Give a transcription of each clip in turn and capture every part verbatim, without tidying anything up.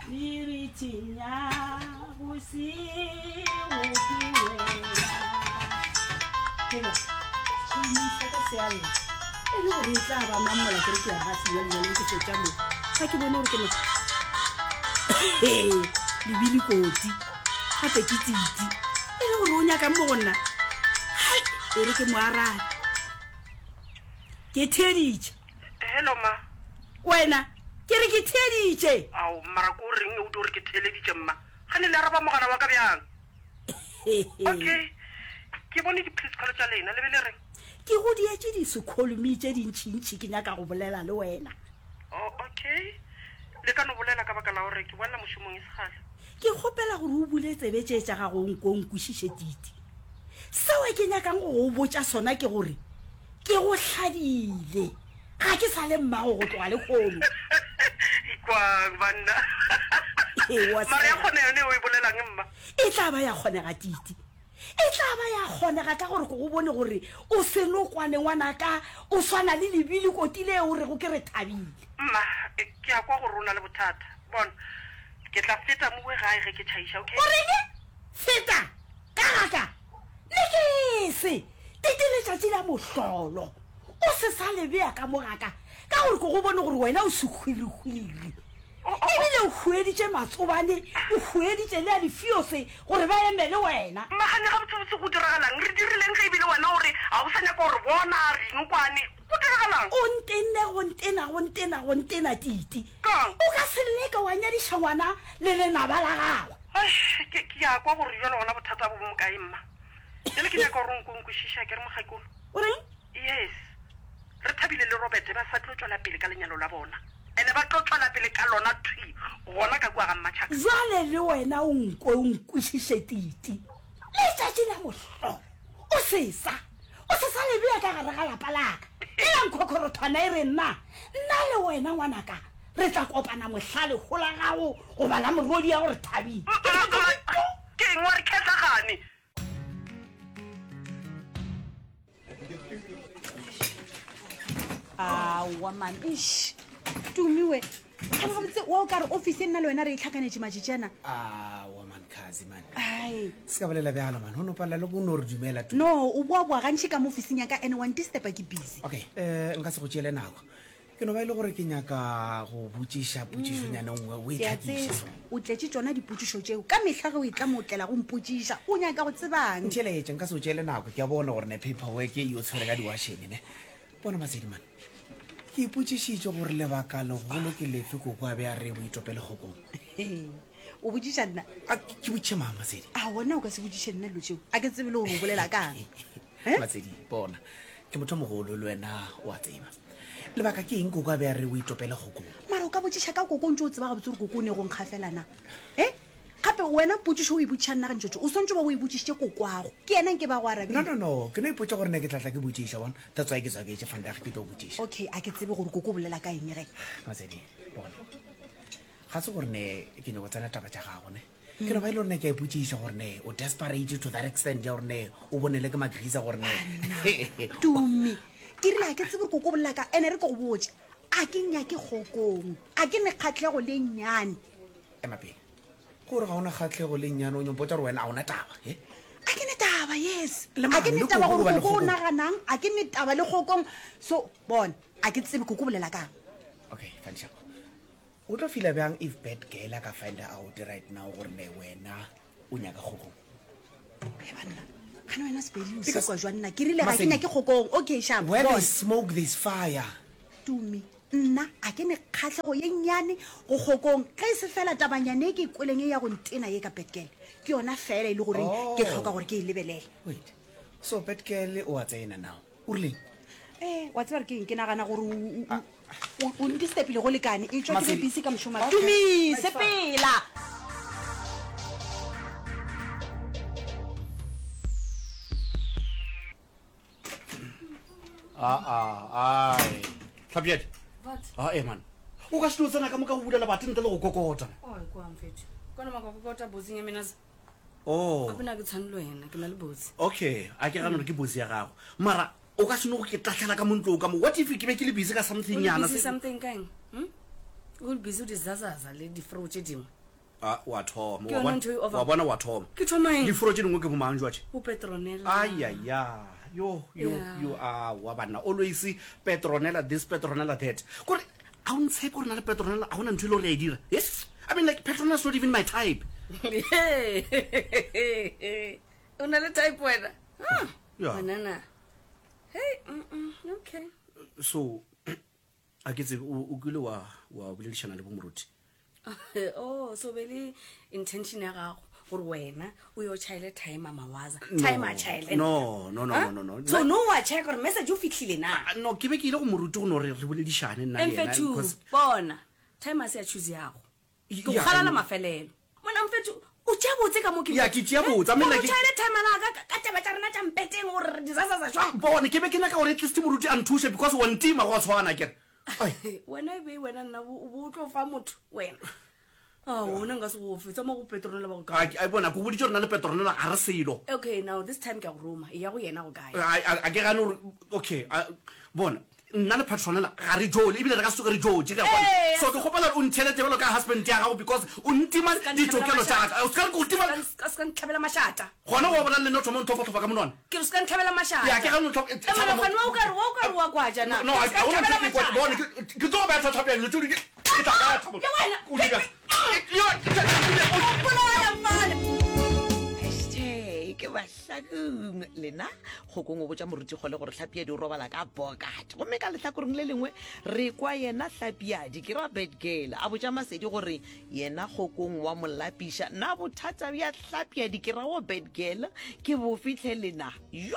Meriting ya bosigo ke wena. Hela, tšhomi sa ka se a lla. E le gore e tla ba mang mola ke re ke ya ga sebjalebjale ke fetša mo. Ga ke bone gore ke na lebile koti gape ke titi. E le gore o nyakang mo go nna. Hai, e re ke mo arabe. Ke theeditše. Hello ma. Wena, ke re ke theeditše. Ao, mara ko reng o dio re ke theeleditše mma? Gane le araba mogala wa ka bjang? Okay, ke bone di-please call tša lena, le be le reng? Ke go dietše disekholumi tše dintšintši ke nyaka go bolela le wena. Oh, okay. Le ka no bolela ka baka la gore ke boela mošomong e se kgale. Ke kgopela gore o bule tsebe tše tša gago o nko o nkwešiše Titi. Seo ke nyakang go go botša sona ke gore ke go hladile. Ga ke sa le mmago go tloga lehono. Ikwang banna. Ee, wa Mara ya sega. kgona yone o e bolelang mma? E tla ba ya kgonega Titi. E tla ba ya kgonega ka gore ke go bone gore o senokwane ngwanaka, o swana le lebili koti le o rego ke re thabile. Mma, ke a kwa gore o na le bothata. Bona, ke tla feta mowe gae ge ke tšhaiša, okay? O reng? Feta? Ka ga ka? Le ke se Titi letšatši la mohlolo. O se sa le bea ka mo ga ka, ka gore ke go bone gore wena o sehwirihwiri. Ebile o hueditše matsobane, o hueditše le a difiose gore ba eme le wena. Mma, gane gabotsebotse go diragalang? Re dirileng ge ebile wena o re ga o sa nyaka go re bona, re inokwane? Go diragalang? O ntenne go ntena, go ntena, go ntena, Titi. Kang? O ka se leke wa nyadiša ngwana le lenaba la gagwe. Eish, ke, ke a kwa gore bjale gona bothata bo bo mokae, mma. Bjale ke nyaka gore o nko o nkwešiše, akere mokgekolo? O reng? Yes. Re thabile le Robert ba sa tlo tšwela pele ka lenyalo la bona. Ene ba tlo tšwela pele ka lona thwi gona ka kua ga Mmatšhaka. Bjale le wena o nkwe o nkwešiše Titi. Letšatši la mohlolo o se sa, o se sa le bea ka gare ga lapa la ka. Ela nkhokhorothwana e re nna, nna le wena ngwanaka re tla kopana mohla leho la gago goba la morwedi ya gore thabile. Ke tla tlo re Ke eng wa re khetla gane? Aowa man, eish. Tumiwe. Gane gabotse wa o kare office e nna le wena re e tlhakanetše matšatši ana. Aowa man, khazi man. Ai. Se ka bolela bjalo man, o no palela le ko no re dumela tu. No, o boa-boa gantši ka mo officing ya ka and wa ndisturba ke busy. Okay, eh nka se go tšeele nako. Ke no ba e le gore ke nyaka go botšiša potšišonyana nngwe o e Ke a tlhakiše tseba so. o tletše tšona dipotšišo tšeo. Ka mehla ge o etla mo o tlela go mpotšiša. O nyaka go tsebang? Ntheeletše, nka se o tšeele nako. Ke a bona gore ne paperwork e o tshwere ka diwašene ne. Bona Masedi man. Ke ipotšišitše gore lebaka legolo ke lefe koko a be a re o itopele kgokong. O botšiša nna? A ke botšiše mang Masedi? A wena o ka se botšiše nna dilo tšeo. A ke tsebe le gore o bolela kang. Eh? Masedi, bona. Ke motho o mogolo le wena o a tseba. Lebaka ke eng koko a be a re o itopele kgokong? Mara o ka botšiša ka koko o ntse o tseba gabotse gore koko o ne go nkgafela na? Eh? Gape wena potšišo o e botšiša nna gantšotšo, o swantse ba o e botšišitše kokwago. Ke yena nke ba go arabile. No, no, no. Ke no ipotša gore ne ke tla tla ke botšiša, bona. That's why ke tswaketše vandag ke tlo botšiša. Okay, a ke tsebe gore koko o bolela ka eng ge. Masedi, bona. Ga se gore ne ke nyako tsena taba tša gago ne. Ke no ba e le gore ne ke a ipotšiša gore ne o desperate to that extent ya gore ne o bonele ke magrisa gore ne. Tumi, ke rile a ke tsebe gore koko o bolela ka ene re ke go botše. A ke nyake kgokong. A ke ne kgatlhego le nnyane. Ema pele. Gore ga ona kgatlhego le nnyane o nyompotša gore wena a ona taba, he? A ke ne taba, yes. Le A ke ne mang, le taba koko gore goba le koko o kgokong? naganang, a ke ne taba le kgokong. So, bona, a ke tsebe koko o bolela kang. Okay, fine, sharp. O tlo feela bjang if bad girl a ka find out right now gore ne wena o nyaka kgokong? He banna, gane wena Sepedi o Because sekwa jwa nna. Ke rile ga ke Masedi, nyake kgokong. Okay, sharp. Where Bona. there's smoke, there's fire. Tumi, nna a ke ne kgatlhego ye nnyane go kgokong. Ge e se fela tabanyane e ke e kweleng e ya go ntena ye ka bad girl. Ke yona fela e le goreng ke tlhoka gore ke e lebelele. Wait, so bad girl o a tsena now? O rileng? Eh, wa tseba re ke eng? Ke nagana gore o, o, o, o ndisturbile go lekane. E tšwa ke be Masedi. busy ka mošomo. Okay. Tumi, It's fine. sepela. Ah, ah, ai. Tlhapjadi. What? Ah, eh man. O ka se no tsena ka moka go bula lebati ntle le go kokota. Oi, kwa mfethu. Kona makokota botsing ya mina. Oh. Gape na ke tshwane le wena, ke na le botse. Okay, a ke gane gore ke botse ya gago. Mara o ka se no go ke tahlela ka mo ntlong ka mo. What if ke be ke le busy ka something O le nyana busy se- something ka eng? Hm? O le busy o di zazaza le difro tše dingwe. A wa thoma Ke wa yona bona- ntho e over- wa bona wa thoma Ke thoma eng? Diforo tše dingwe ke bomang jwatše? O Petronella. Ayaya, yo yo Yeah. yo, a wa banna, always Petronella this, Petronella that. Kore a o ntshepe gore na le Petronella a gona ntho e le gore ya e dira. Yes, I mean, like, Petronella's not even my type. O na le type wena? Ah, Yeah. Banana. Hey, mm, mm, okay. So a ke tsebe, o o kile wa wa boledišana le bomoruti? Oh, so be le intention ya gago gore wena o yo chaile timer mawaza. No. Timer chaile. No, no, no, Huh? no, no, no. So no wa check gore message o fitlhile na. Ah, no, ke be ke ile go moruti go no re re boledišane nna le yena, Mfethu, because- bona. Timer se ya choose yago. Ke go Yeah, galala I know. mafelelo. Mona mfethu, o tšea botse ka mo ke. Yeah, ke tšea botse. I mean, like- O chaile timer la ka ka taba tša rena tša mpeteng gore re disasaza jwang. Bone, ke be ke nyaka gore at least moruti a nthuse because wa ntima go a tshwana kere. Ai. Wena e be wena nna o bo o tlo fa motho wena. Ah, wona nka se go fe tsama go Petronella ba go kae. A ke- a bona ko boditse gore na le Petronella ga re selo. Okay, now this time ke a go roma. E ya go yena go kae? A a- a ke gane gore okay, a- bona nna le Petronella ga re jole ebile re ka se tsoge re jotse ke a bona. Ee, So ke kgopela gore o ntšhelete bjalo ka husband ya gago because o ntima Ska ditokelo ntlhabela tša ka. O se ka re ke o tima. Ska ska ntlhabela mashata. Gona wa bona le nna o thoma o ntlhofatlhofa ka monwana. Ke re ska ntlhabela mashata. Ya, ke gane o ntlhofa- Eh, mara gone wa o ka re wa o ka re wa kwaja na. No, a- Ska a hona ntlhabela ntho e ke kwa- mashata. bone, ke ke tlo go beya thata bjang, dilo tse di- ke tla baya thata. Le wena. O di bjang? Yo, ke tla- O bolaya mfana. Hashtag ke bahlakong lena. Kgokong o botša moruti kgole gore hlapiadi o robala ka pocket, gomme ka lehlakoreng le lengwe re kwa yena hlapiadi ke ra bad girl a botša Masedi gore yena kgokong wa mo lapiša. Na bothata bja hlapiadi ke ra wo bad girl ke bo fitlhe lena? Yo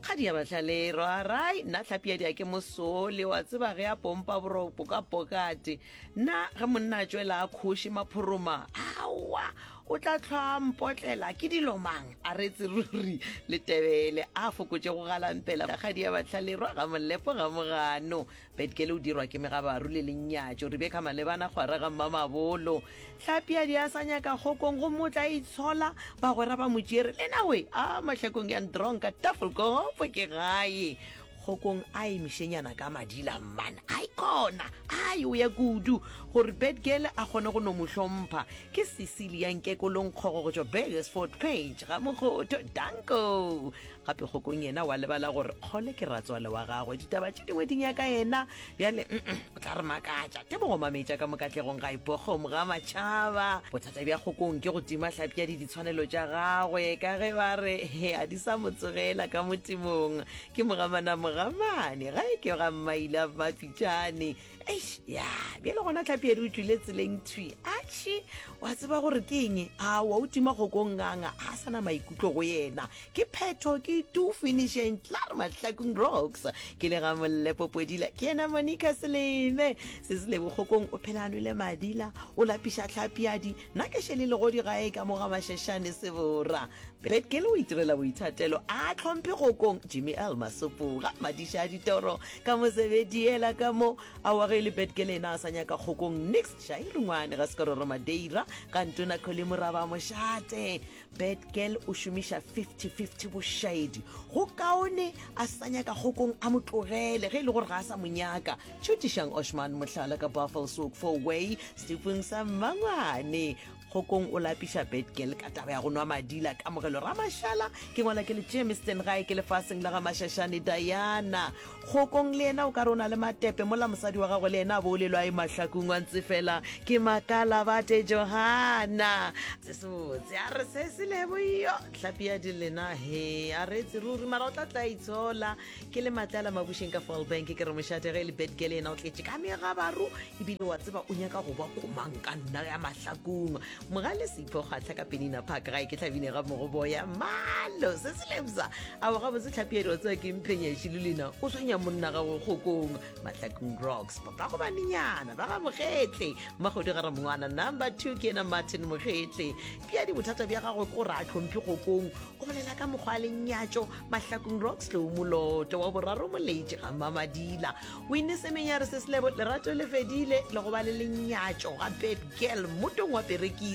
kgadi ya bahlalero arai, nna hlapiadi a ke mosole wa tseba ge a pompa boropo ka pokate. Nna ge monna a tswela a kgoši maphoroma, aowa o tla tlhwa mpotlela ke dilo mang a retse ruri letebele a fokotše go galampela. Kgadi ya bahlalero ga molepo ga mogano betkele o dirwa ke megabaru le lenyatšo. Rebecca Malebana kgwara ga mmamabolo hlapiadi a sa nyaka kgokong gomme o tla itshola bagwera ba motšere lena we a mahlakong ya ndronka tafelkopo ke gae. Kgokong a emišenyana ka madila mmana ai kona ai o ya kudu gore bedgirl a kgone go no mo hlompha. Ke Cecilia Nkekolong kgogo go tšwa Burgersford Page ga Mokgotho danko. Gape kgokong yena wa lebala gore kgole ke ratswale wa gagwe, ditaba tše dingwe di nyaka yena bjale mm-mm, o tla re makatša. Tebogo mametša ka mokatlegong ga ipokgomo ga matšhaba. Bothata bja kgokong ke go tima hlapiadi ditshwanelo tša gagwe ka ge ba re he a di sa mo tsogela ka motemong. Ke mogamana mogamane ga e ke ga mmaile a mapitšane. Eish, ya bjale gona tlhapiadi o tswile tseleng thwi atšhe wa tseba gore ke eng aowa o tima kgokong nganga a sa na maikutlo go yena. Ke phetho ke two finishing tlar Mahlakong Rocks ke le ga Mollepo Podila ke yena Monica Seleme se se lebokgokong o phela a nwele madila o lapiša tlhapiadi. Nna ke šele legodi gae ka mo ga Mašešane sebora. Betkele o itirela boithatelo a tlhomphe kgokong. Jimmy L Masopoga madiša a ditoro ka mosebediela ka mo awa ge e le betkele ena a sa nyaka kgokong. Nix šairungwane ga sekororo Madeira ga ntona Kgole Moraba mošate. Betgirl o šomiša fifty fifty bošaedi go kaone a sa nyaka kgokong a mo tlogele ge e le gore ga a sa mo nyaka. Tšhutišang Oshman mohlala ka Buffelshoek four way stepeng sa mmangwane. Kgokong o lapiša bedgirl ka taba ya go nwa madila. Kamogelo Ramašala ke ngwala ke le Jamestown gae ke lefaseng la ga Mašašane Diana. Kgokong le yena o ka re o na le matepe mola mosadi wa gagwe le yena a boolelwa e mahlakong wa ntse fela ke makala bate Johana se sebotse a re se se lebo yo hlapi ya di lena he a re etse ruri mara o tla tla itshola. Ke le matlala mabušeng ka Fallbank ke re mošate ge e le bedgirl yena o tletše ka megabaru ebile wa tseba o nyaka go ba komang ka nna ya mahlakong. Mogale Sepho kgwatlha ka Penina Park gae ke tlhabine ga mogoboya malo se se lebsa ao gabotse tlhapiedi wa tseba ke mphenyaši le lena o tshwenya monna gagwe kgokong. Mahlakong Rocks papa go banenyana ba ga Mogetle mmagodi ga ramongwana number two ke yena Martin Mogetle. Piadi bothata bja gagwe ke gore a tlhomphe kgokong o bolela ka mokgwa a lenyatšo. Mahlakong Rocks tlou moloto wa boraro moletše ga mamadila wine semenyare se selebo lerato le fedile le go ba le lenyatšo ga bad girl mmotong wa perekisi.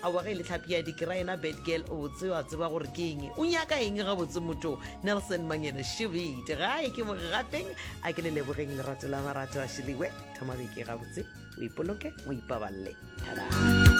Aowa ge e le tlhapi ya dikera yena bad girl o botse wa tseba gore ke eng o nyaka eng gabotse motho. Nelson Mangene Shebete gae ke mogapeng a ke le lebogeng lerato la marato a šeliwe thoma beke gabotse o O ipoloke, o ipaballe. Thada.